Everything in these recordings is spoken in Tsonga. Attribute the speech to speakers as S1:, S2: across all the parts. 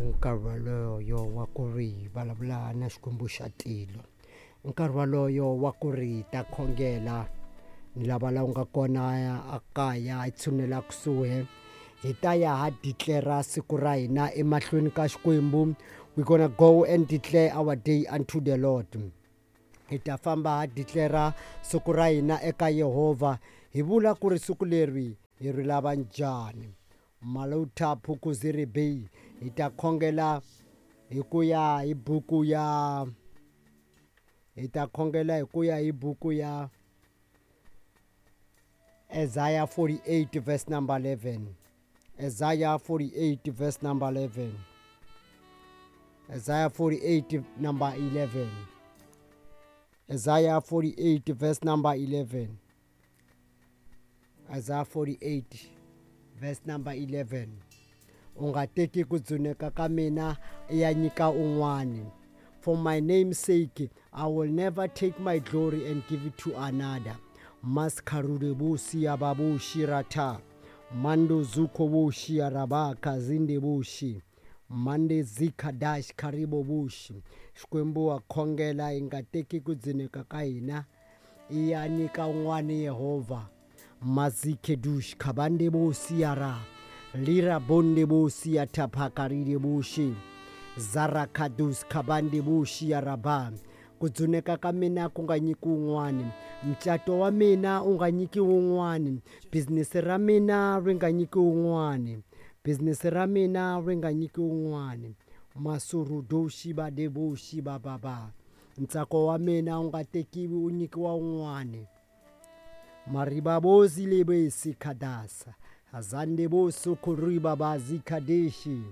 S1: Nkarhi waloyo wa ku ri hi vulavula na Xikwembu xa tilo, i nkarhi waloyo wa ku ri hi ta khongela ni lava la u nga kona a kaya hi tshunela kusuhi hi ta ya ha declare siku ra hina emahlweni ka Xikwembu. We gonna go and declare our day unto the Lord. Hi ta famba ha declare siku ra hina eka Yehovha, hi vula ku ri siku leri hi ri lava njhani. Malutha Phukuziri Bay, hi ta khongela hi ku ya hi buku ya, hi ta khongela hi ku ya hi buku ya Isaiah 48 verse number 11. Isaiah 48 verse number 11. Isaiah 48 number 11. Isaiah 48 verse number 11. Isaiah 48 verse number 11. U nga teki ku dzuneka ka mina i ya nyika un'wani. For my name's sake, I will never take my glory and give it to another. Maskarude busi ya babushi rata. Mando zuko bushi ya rabaka zinde bushi. Mande zika dash karibo bushi. Xikwembu wa khongela hi nga teki ku dzuneka ka hina i ya nyika un'wani Yehovha. Mazike dush kabande bosi ya ra. Lira bonde bosi ya taphakaride bushi. Zarakadus kabande bushi ya raba. Ku dzuneka ka mina ku nga nyiki un'wani, mucato wa mina u nga nyiki un'wani, business ra mina ri nga nyiki un'wani, business ra mina ri nga nyiki un'wani. Masurudoshi ba deboshi ba ba ba. Ntsako wa mina u nga tekiwi u nyikiwa un'wani. Maribabozi lebesi khadasa. Azande boso khuriba bazi khadeshi.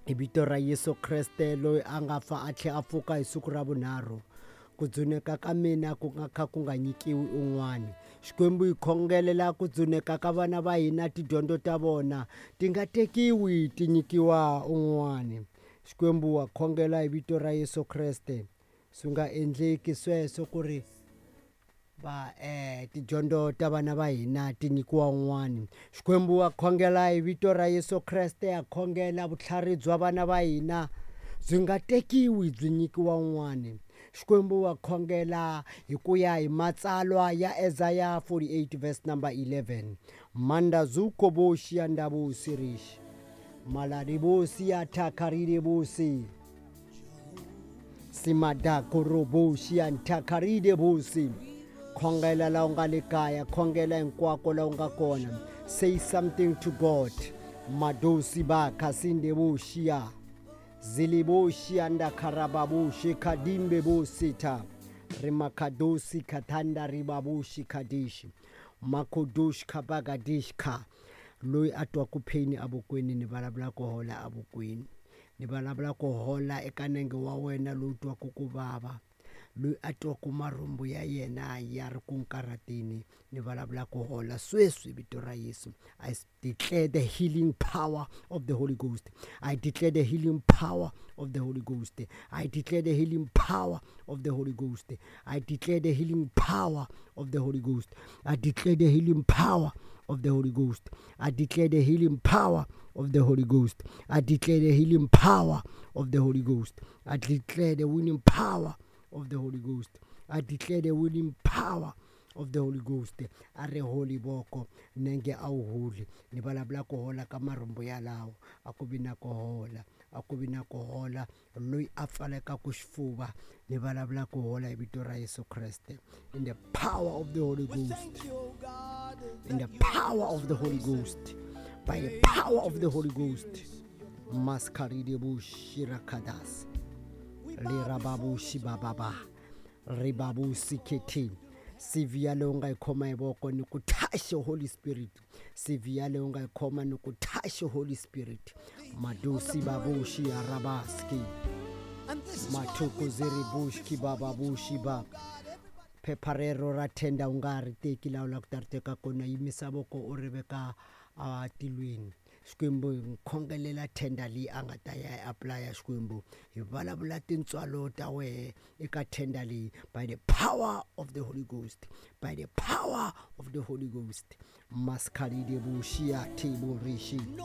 S1: Hi vito ra Yesu Kreste loyi a nga fa a tlhela a pfuka hi siku ra vunharhu, ku dzuneka ka mina ku nga kha ku nga nyikiwi un'wani. Xikwembu hi khongelela ku dzuneka ka vana va hina, tidyondzo ta vona ti nga tekiwi ti nyikiwa un'wani. Xikwembu wa khongela hi vito ra Yesu Kreste, swi nga endleki sweswo ku ri va tidyondzo ta vana va hina ti nyikiwa un'wani. Xikwembu wa khongela hi vito ra Yesu Kreste, a khongela vutlhari bya vana va hina byi nga tekiwi byi nyikiwa un'wani. Xikwembu wa khongela hi ku ya hi matsalwa ya Isaiah 48 verse number 11. Manda zuko boshi ya ndabu sirish. Maladi bosi ya takaride bosi. Simada koroboshi ya ntakaride bosi. Khongela la u nga le kaya, khongela hinkwako la u nga kona. Say something to God. Madosi ba kasinde boshia. Ziliboshi anda karababushi kadimbe bosita. Rimakadosi katanda ribabushi kadishi. Makodosh kabagadish ka. Loyi a twaku pain evokweni ni vulavula ku hola evokweni. Ni vulavula ku hola eka nenge wa wena lowu twaku ku vava. Loyi a twaku marhumbu ya yena ya ri ku nkarateni, ni vulavula ku hola sweswi vito ra Yesu. I declare the healing power of the Holy Ghost. I declare the healing power of the Holy Ghost. I declare the healing power of the Holy Ghost. I declare the healing power of the Holy Ghost. I declare the healing power of the Holy Ghost. I declare the healing power of the Holy Ghost. I declare the healing power of the Holy Ghost. I declare the winning power of the Holy Ghost. I declare the winning power of the Holy Ghost. A ri holi voko nenge a wu holi. Ni vulavula ku hola ka marhumbu yalawo, a ku vi na ku hola, a ku vi na ku hola. Loyi a pfalekaku xifuva, ni vulavula ku hola hi vito ra Yesu Kreste. In the power of the Holy Ghost. In the power of the Holy Ghost. By the power of the Holy Ghost. Maskaride bushirakadas. Lirababushi bababa. Ribabusi keti. CV ya leyi u nga yi khoma hi voko ni ku touch Holy Spirit. CV ya leyi u nga yi khoma ni ku touch Holy Spirit. Madusi babushi ya rabaski. Mathuku ziri bushki baba bushi ba. Phepha rero ra tender u nga ri teki laha u lava ku ta ri teka kona, yimisa voko u ri veka a tilweni. Xikwembu hi khongelela tender leyi a nga ta ya yi apply-a. Xikwembu hi vulavula tintswalo ta wehe eka tender leyi by the power of the Holy Ghost, by the power of the Holy Ghost. Maskalide bushia teborishi.